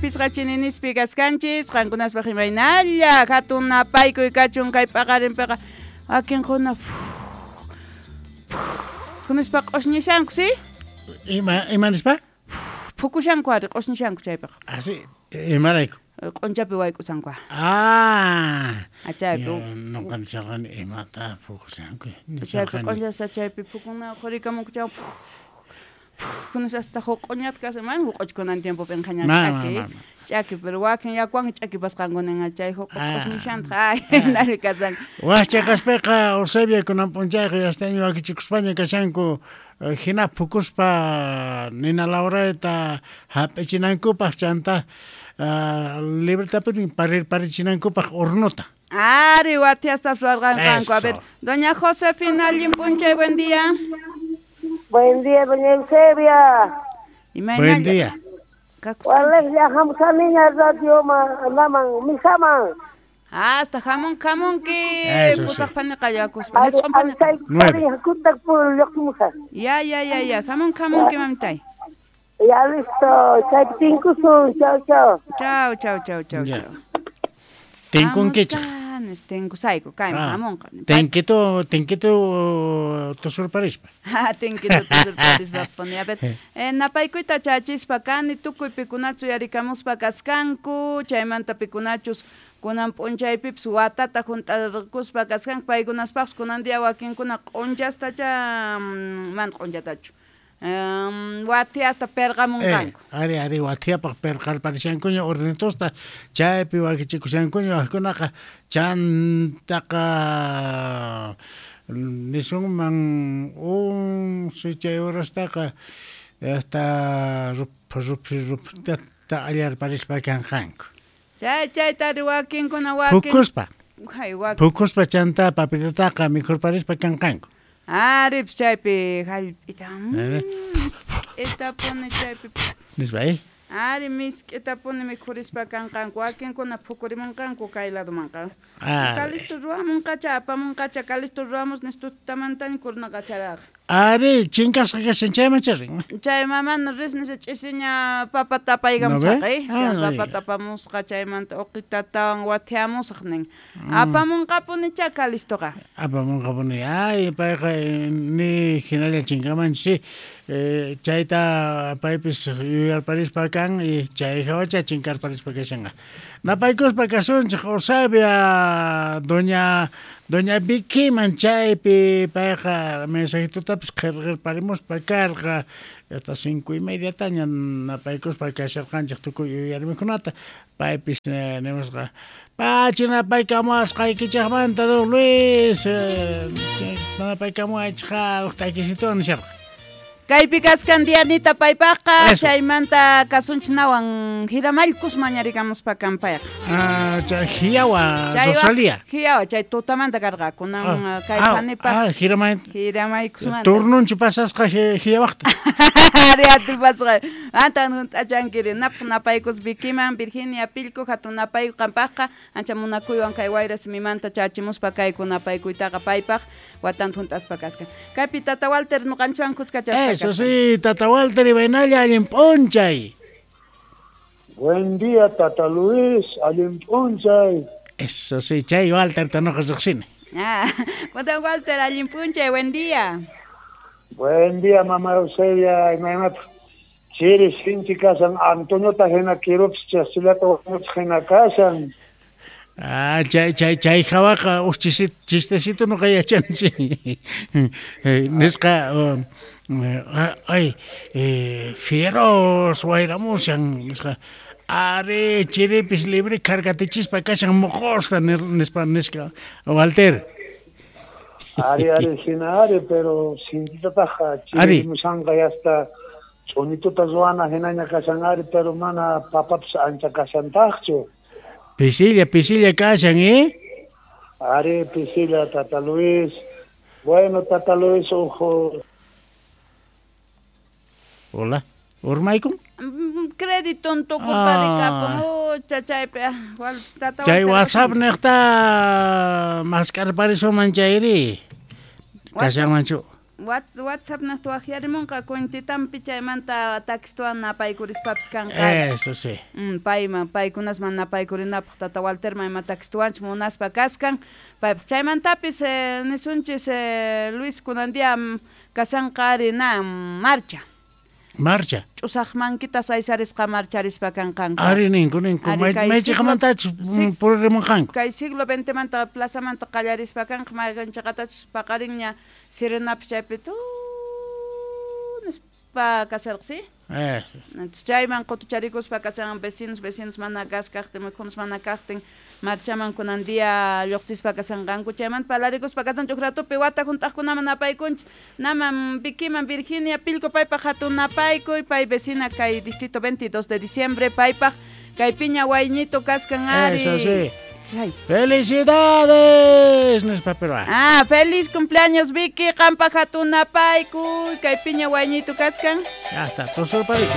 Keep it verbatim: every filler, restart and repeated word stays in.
pisqa chininispi kaskanchis, qankunaspaq imaynalla hatun napaykuy kachun kay paqarinpiqa wakinkuna nispa q'usñishanku, si? Ima ima nispa? Phukushanku ari q'usñishanku chaypiqa. Así, imarayku? Q'unchapi wayk'usanku. Ah. Chaypi. Nuqa nisharqani imata phukushanku. Chaypi q'uñasa chaypi phukuna qhurikamunku chay hasta joq'uñata kashan, mana joq'uchkunan tiempopi inqaña ch'aki. Ch'aki, pero wakin yakuwan ch'akipasqankuninqa chay joq'u q'usñishantaq ay nari kasan. Wajcha kaspaqa Eusebia kunan p'unchayqa yastaña wakichikuspaña kashanku hina phukuspa nina lawrayta hap'ichinankupaq chanta libretapuni parirparichinankupaq hornota. Ari wathiasta ruwarqanku. A ver, doña Josefina, allin p'unchay, buen día. Buen día, doña Eusebia. Buen día. Walex hamusaniña radio laman misaman. Hasta jamón jamonki pusaq paniqa yakuspa. Ya ya ya ya jamón jamonki mamitay. Ya listo, chay tinkusun, chao chao. Chao chao chao chao chao. Tinkunkichaq. Tinkusayku kayman hamunqa. Tinkitu tinkitu tusurparispa. Ha tinkitu tusurparispa puni. A ver, eh, napaykuyta chachispa kani tukuy pikunachu yarikamuspa kaskanku, chaymanta pikunachus kunan p'unchaypipis watata junt'arquspa kaskanku paykunaspaqpis kunan día wakinkuna q'unchastacha mana q'unchatachu. Um, wathiasta perqamunqanku. Eh, ari ari wathiapaq perqarparishankuña hornitosta chaypi wakichikushankuña wajkunaqa chantaqa nisunman once chay horastaqa hasta ruph ruph ruphtata allarparispa kanqanku. Chay chayta ari wakinkuna wakin phukuspa. Hay wakin. Phukuspa chanta papitataqa mikhurparispa kanqanku. Ari chaypi hallp'ita misk'itapuni chaypi nispa eh ari misk'itapuni mikhurispa kanqanku wakinkuna phukurimunqanku kay ladomanqa kalisto ruwamunqacha apamunqacha kalisto ruwamus nistutamantaña kurnaqacharaqa ari chinkasqa kashan chayman charin chay mamana ris nisha ch'isiña papa tapaykamusaq eh papa tapamusqa chaymanta uqitatawan wathiamusaq nin apamunqapunicha kalistoqa apamunqapuni ay payqa ni hinalla chinkamanchis eh, chayta paypis yuyarparispa kan y chay hawacha chinkarparispa kashanqa napaykuspa kasunchik Eusebia doña doña Vicky-man chaypi payqa mensajitutapis qhirqirparimuspa karqa hasta cinco y media taña napaykuspa kasharqanchik tukuy yuyarmikunata paypis nimusqa pachi napaykamuwasqaykichikmanta don Luis napaykamuwaychikqa huk takisituwan nisharqa. Kaypi kaskan Dianita paypaqqa chaymanta kasunchinawan hiramallkus mañarikamuspa kanpayqa. Ah, chay hiyawa Rosalía. Hiyawa chay tutamanta karqa kunan kay panipaq. Ah, hiramay. Hiramaykusmanta. Turnunchu pasasqa hiyawaqta. Ari atipasqa. Antan hunt'achankiri napaq napaykus Vikiman Virginia Pilco hatun napayku qampaqqa ancha munakuywan kay wayra simimanta chachimuspa kayku napaykuytaqa paypaq watanta hunt'aspa kaskan. Kaypi Tata Walter nuqanchwan kuskachasqa. Eso sí, Tata Walter y Bainalla, allin p'unchay. Buen día, Tata Luis, allin p'unchay. Eso sí, chay Walter tanoqa riqsini. Ah, Tata Walter, allin p'unchay, buen día. Buen día, mamá Eusebia, imaynataq. Chiri sinchi kasan, Antoniota hina kirupis chasillata wañuchik hina kashan. Ah, chay chay chay hawaqa uj chistecito nuqa yachanchik. Nisqa ay fieros wayramushan nisqa ari chiripis libre kargatichispa kashan moqosta nispa nisqa Walter. Ari ari hina ari pero sintitataqa chirimushanqa yasta ch'unituta ruwana hinaña kashan ari pero mana papapis ancha kashantaqchu. Pisilla, pisilla kashan, ¿eh? Ari, pisilla, Tata Luis. Bueno, Tata Luis, ojo. Hola, urmaykun? Crédito tukurparikapun, chaypi. Chay WhatsApp niqta maskarparisuman chayri. Kashanmanchu. WhatsApp naqta waqyarimunqa kuntitampi chaymanta takistuwan napaykurishpapis kanqa. Eso sí. Mm, payman paykunasman napaykurinapaq tata Walterman ima takistuwanchus munaspa kaskan. Paypaq chaymantapis eh, nisunchis eh, Luis kunan día kasanqa ari na marcha. Marcha. Ch'usaq mankitas aysarisqa marcharispa kanqanku. Ari ninku ninku maychiqamantachus puririmunqanku. Kay siglo veintemanta plazamanta qallarispa kanqa mayqanchiqatachus paqarinña sirenapis chaypi tu nispa kasarqa, ¿sí? Eso. Chayman qutucharikuspa kasan vecinos vecinos mana gas kaqtin mikhunas mana kaqtin marchaman kunan día lluqsispa kasanqanku chaymanta palarikuspa kasan ch'ukratupi wata hunt'aqkunaman napaykunchis naman Vikiman Virginia Pilco paypaq hatun napaykuy pay vecina kay distrito veintidós de diciembre paypaq kay piña wayñito kaskan ari. Eso sí. Ay. ¡Felicidades! Nispa peruano. Ah, feliz cumpleaños Vicky, qanpaq hatun napaykuy kay piña wayñito kaskan. Ya está, tosurpariku.